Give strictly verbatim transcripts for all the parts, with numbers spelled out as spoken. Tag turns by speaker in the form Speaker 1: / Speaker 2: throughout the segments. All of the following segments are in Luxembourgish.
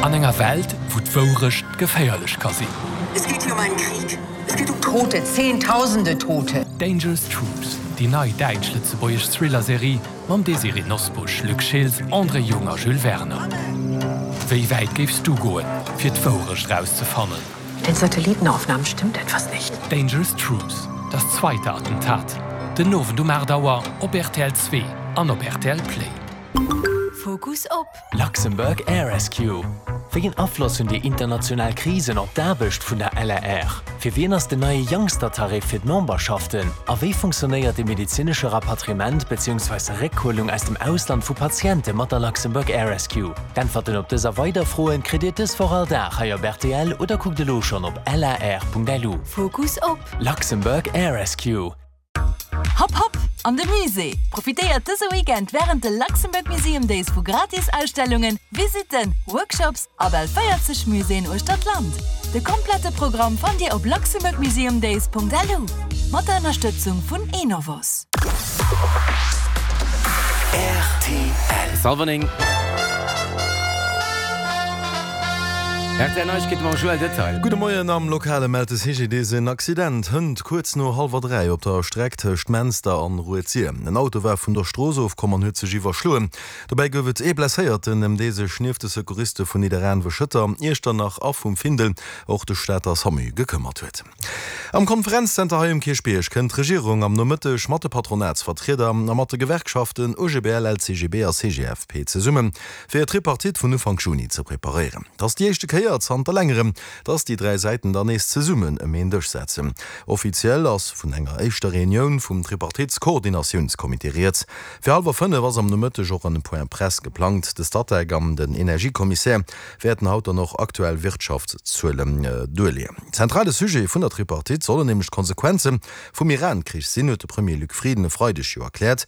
Speaker 1: An enger Welt, wou d'Wourecht geféierlech ka sinn.
Speaker 2: Es geht hier um einen Krieg. Es geht um Tote, Zehntausende Tote.
Speaker 1: Dangerous Truths, déi nei däitsch-lëtzebuergesch Thriller-Serie mam Désirée Nosbusch, Luc Schiltz, André Jung a Jules Werner. Wéi wäit géifs du goen, fir d'Wourecht rauszefannen?
Speaker 2: Mit den Satellitenaufnahmen stimmt etwas nicht.
Speaker 1: Dangerous Truths, Das zweite Attentat, den Owend um aacht Auer op rtl Zwee an op rtl Play.
Speaker 3: Fokus op.
Speaker 4: Luxembourg Air Rescue, Wéi een Afloss hunn déi international Krisen op d'Aarbecht vun der L A R? Fir wien ass den neie Youngster-Tarif fir d'Memberschaften? A wéi funktionéiert de medezinesche Rapatriement beziehungsweise Réckhuelung aus dem Ausland vu Patiente mat der Luxembourg Air Rescue? D'Äntwerten op dës a weider Froen kritt Dir dës Woch all Dag hei op R T L oder kuckt elo schonn op lar Punkt L U.
Speaker 3: Fokus op.
Speaker 4: Luxembourg Air Rescue.
Speaker 3: Hopp hopp an de Musée! Profitéiert dëse Weekend wärend de Luxembourg Museum Days vu gratis Ausstellungen, Visitten, Workshops a bal véierzeg Muséeën uechter d'Land. De komplette Programm fannt Dir op luxembourgmuseumdays Punkt L U. Mat der Ënnerstëtzung vun Enovos.
Speaker 5: R T L. Salverning. R T L Neiegkeete mam Joël Detail.
Speaker 6: Gudde Moien. Am Lokale mellt de C G D S en Accident hënt kuerz no hallwer dräi op der Streck tëscht Menster an Rued-Sir. En Auto war vun der Strooss ofkomm an huet sech iwwerschloen. Dobäi gouf et ee Blesséierten, ëm dee sech nieft de Secouriste vun Nidderaanwen, Schëtter, Iechternach a vum Findel och de Stater SAMU gekëmmert huet. Am Konferenzzenter hei um Kierchbierg kënnt d'Regierung am Nomëtteg mat de Patronatsvertrieder a mat de Gewerkschaften O G B L, L C G B a C G F P zesummen, fir d'Tripartite vun Ufank Juni ze preparéieren. Dat ass déi éischte Kéier zanter längerem, dass déi dräi Säiten dann nees zesummen ëm een Dësch setzen. Offiziell ass vun enger éischter Reunioun vum Tripartitskoordinatiounscomité rieds. Fir hallwer fënnef ass am Nomëtteg och en Point Presse geplangt. De Statec an den Energiekommissär wäerten haut dann och aktuell Wirtschaftszuelen duerleeën. Zentrale Sujet vun der Tripartite sollen nämlech d'Konsequenze vum Iran-Krich sinn, huet de Premier Luc Frieden e Freideg jo erkläert.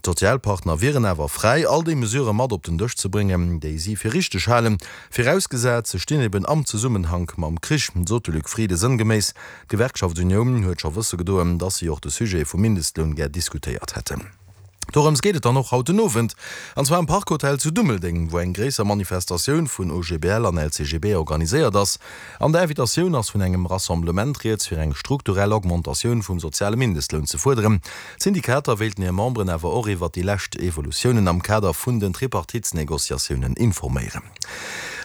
Speaker 6: D'Sozialpartner wieren awer fräi, all déi Mesurë mat op den Dësch ze bréngen, déi si fir richteg halen, virausgesat se stinn eben am Zesummenhank mam Krich, sot de Luc Frieden sënngeméiss. D'Gewerkschaft Unioun huet scho wësse gedoen, datt si och de Sujet vum Mindestloun gär diskutéiert hätten. Dorëms geet et dann och haut den Owend, an zwar am Parkhotel zu Dummeldeng, wou eng gréisser Manifestatioun vun O G B L an L C G B organiséiert ass. An der Invitatioun ass vun engem Rassemblement rieds, fir eng strukturell Augmentatioun vum soziale Mindestloun ze fuerderen. D'Syndikater wéilten hir Memberen awer och iwwer déi lescht Evolutiounen am Kader vun den Tripartitsnegociatiounen informéieren.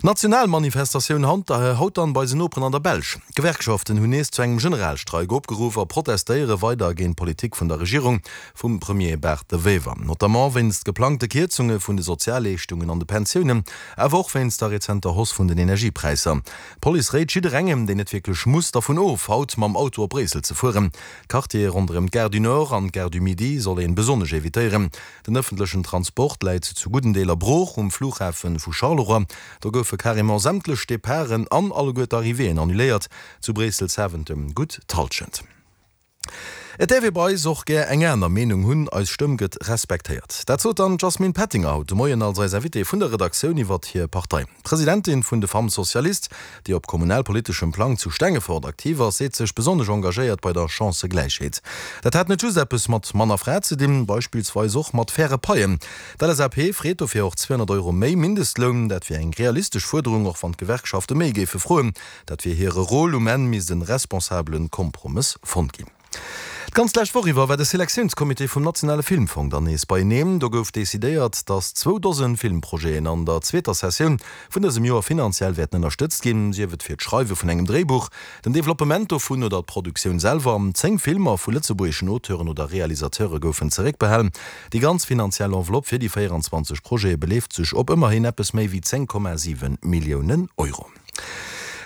Speaker 6: National Manifestatioun haut dann bei eisen Noperen an der Belsch. D'Gewerkschaften hunn nees zu engem Generalstreik opgeruff a protestéiere weider géint d'Politik vun der Regierung vum Premier Bart De Wever. Notamment wéinst geplangte Kierzunge vun de Sozialleeschtungen an de Pensiounen, awer och wéinst der rezenter Hausse vun den Energiepräisser. D'Police réit jidderengem, deen net wierklech muss, dervun of, haut mam Auto op Bréissel ze fueren. D'Quartiere ronderëm d'Gare du Nord an d'Gare du Midi soll ee besonnesch evitéieren. Den ëffentlechen Transport läit zu gudden Deeler brooch. Um Flughafe vu Charleroi, do goufe carrément sämtlech Departen an alleguer d'Arrivéeën annuléiert. Zu Bréissel Zaventem gutt d'Hallschent. Et däerf ee bei eis och gär eng aner Meenung hunn, eis Stëmm gëtt respektéiert. Dat sot dann d'Jasmine Pettinger haut de Moien als eis Invitée vun der Redaktioun iwwert hir Partei. D'Presidentin vun de Femmes Socialistes, déi op kommunalpoliteschem Plang zu Stengefort aktiv ass, seet sech besonnesch engagéiert bei der Chancëgläichheet. Dat hätt net just eppes mat Mann a Fra ze dinn, beispillsweis och mat faire Paien. D'L S A P freet dofir och zweehonnert Euro méi Mindestloun. Dat wier eng realistesch Fuerderung, och wann d'Gewerkschafte méi géife froen. Dat wier hire Rôle, um Enn misst e responsabele Kompromëss fonnt ginn. D'ganz lescht Woch iwwer war de Selektiounscomité vum nationale Filmfong dann nees beieneen. Do gouf decidéiert, datt zwou Dosen Filmprojeten an der zweeter Sessioun vun dësem Joer finanziell wäerten ënnerstëtzt ginn, sief et fir d'Schreiwe vun engem Dréibuch, den Developpement dovun oder d'Produktioun selwer. Zéng Filmer vu lëtzebuergeschen Auteuren oder Realisateure goufen zeréckbehalen. Déi ganz finanziell Enveloppe fir déi véierenzwanzeg Projete beleeft sech op ëmmerhin eppes méi wéi zéng Komma siwe Milliounen Euro.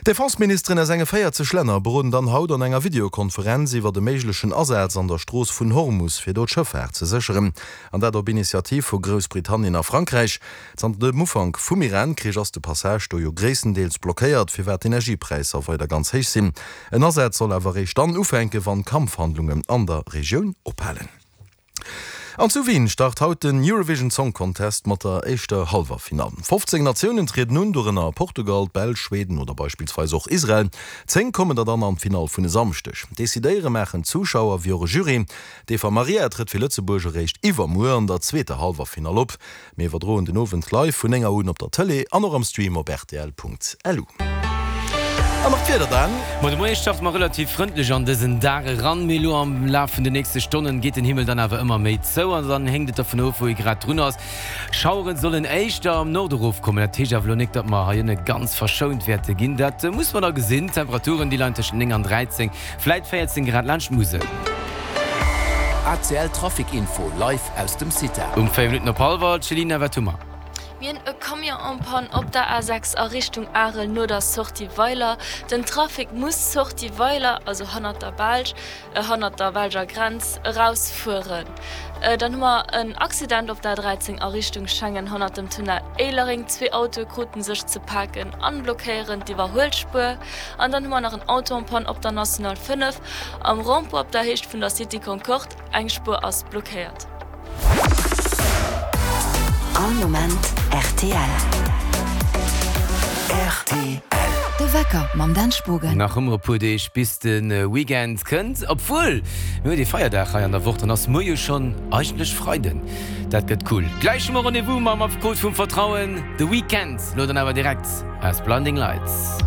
Speaker 6: D'Defenseministeren aus enge véierzeg Länner beroden dann haut an enger Videokonferenz iwwer de méiglechen Asaz an der Strooss vun Hormus, fir do d'Schëffaart ze sécheren. An dat op Initiativ vu Groussbritannien a Frankräich. Zanter dem Ufank vum Iran-Krich ass de Passage do jo gréisstendeels blockéiert, firwat d'Energiepräisser weider ganz héich sinn. En Asaz soll awer eréischt dann ufänken, wann d'Kampfhandlungen an der Regioun ophalen. An zu Wien start haut den Eurovision Song Contest mat der éischter Hallwerfinall. fofzéng Natiounen trieden un, dorënner Portugal, d'Belsch, Schweden oder beispillsweis och Israel. Zéng kommen der dann an d'Finall vun e Samschdeg. Decidéiere maachen d'Zuschauer wéi och e Jury. D'Eva Marija trëtt fir Lëtzebuerg eréischt iwwermuer an der zweeter Hallwerfinall op. Mir iwwerdroen den Owend live vun néng Auer un op der Tëlee an och am Stream op rtl.lu. An nach d'Wieder dann.
Speaker 5: Ma de Moie starte mer relativ frëndlech an dësen Dag eran, mee elo am Laf vun de nächste Stonnen geet den Himmel dann awer ëmmer méi zou an dann héngt et dervun of, wou ee grad drun ass. Schaueren sollen éischter am Norde erofkommen, dat heescht awer elo nik, datt mer hei ënne ganz verschount wäerte ginn, dat muss mer da gesinn. D'Temperaturen, déi leien tëschent néng an dräizéng, vläit véierzéng Grad laanscht d'Musel.
Speaker 7: A C L Trafic Info live aus dem CITA.
Speaker 5: Um véier Minutten op hallwer, Céline, wat hu mer?
Speaker 8: Mir hunn e Camion en panne op der A sechs a Richtung Arel no der Sortie Weiler. Den Trafic muss Sortie Weiler, also hannert der Belsch, hannert der belger Grenz, eraus fueren. Dann hu mer en Accident op der A dräizéng a Richtung Schengen hannert dem Tunnel Éilereng. Zwee Autoe kruten sech ze paken an blockéieren d'Iwwerhuelspuer. An dann hu mer nach en Auto en panne op der National fënnef am Rond-point op der Héicht vun der City Concorde. Eng Spuer ass blockéiert.
Speaker 3: All Moment rtl.
Speaker 7: Rtl.
Speaker 3: De Wecker mam Dan Spogen.
Speaker 5: Nach ëmmer e puer Deeg bis de Weekend kënnt, obwuel mir hunn ee Feierdag hei an der Woch, dann ass muer jo schonn eigentlech Freiden. Dat gëtt cool. Gläich hu mer Rendez-vous mam Affekot vum Vertrauen, de Weekend. Lo dann awer direkt aus Blinding Lights.